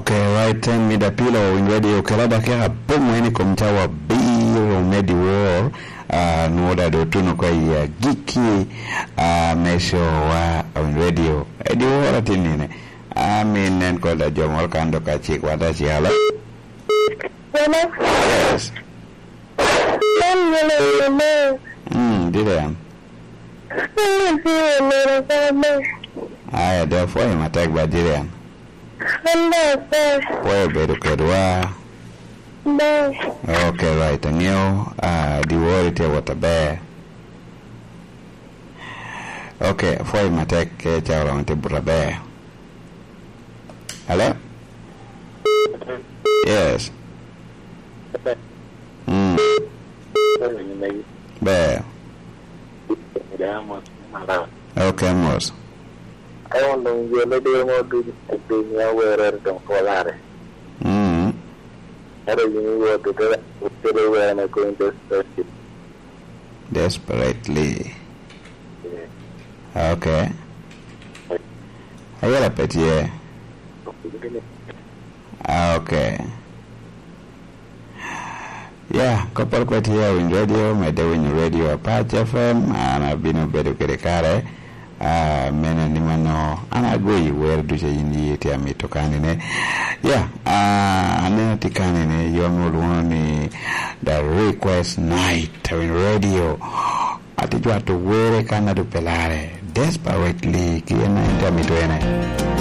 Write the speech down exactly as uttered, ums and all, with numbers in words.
Okay, right time mida pilo winy radio kela dakika pong eni kom cawa biro me diwar. Ah, nwoda do tuno kwa ya giki. Ah, me show wa winy radio. E diwar atin nine. Ah, min nen koda jo moro kan do ka chik wata chik. Hello? Hello? Yes. Hello, hello. Hmm, did I am? Hello, hello, hello. Aya, de fwayo matek ba did I am? An dok akwai. Pwoyo bedo kedwa. Ber. Ok, right. Angeo, ah, diwari tye wot aber. Ok, pwoyo matek, ke ca oromo tye but aber. Hello? Yes. Mm. Ber. Ok, mos. Ka onwoŋo jo me diro mo ducu i piny a werere doŋ pwolare. Mm. Ento yin iwot ite, ite were me kony desperately. Desperately. Yeah. Ok. Ayela pe tye. Ok. Ya, kopporo pe tye a winy radio, medde winyo radio Apac F M, an abino bedo kede kare, ah, mene ni mano, an agoyi wer ducu a yin yi tye amito kanine. Ya, ah, aneno tye kanine, yom olwoŋo ni The Request Night, a winy radio. Ati jwato were kan adu pelare, Desperately, ki en a en tye amito ene.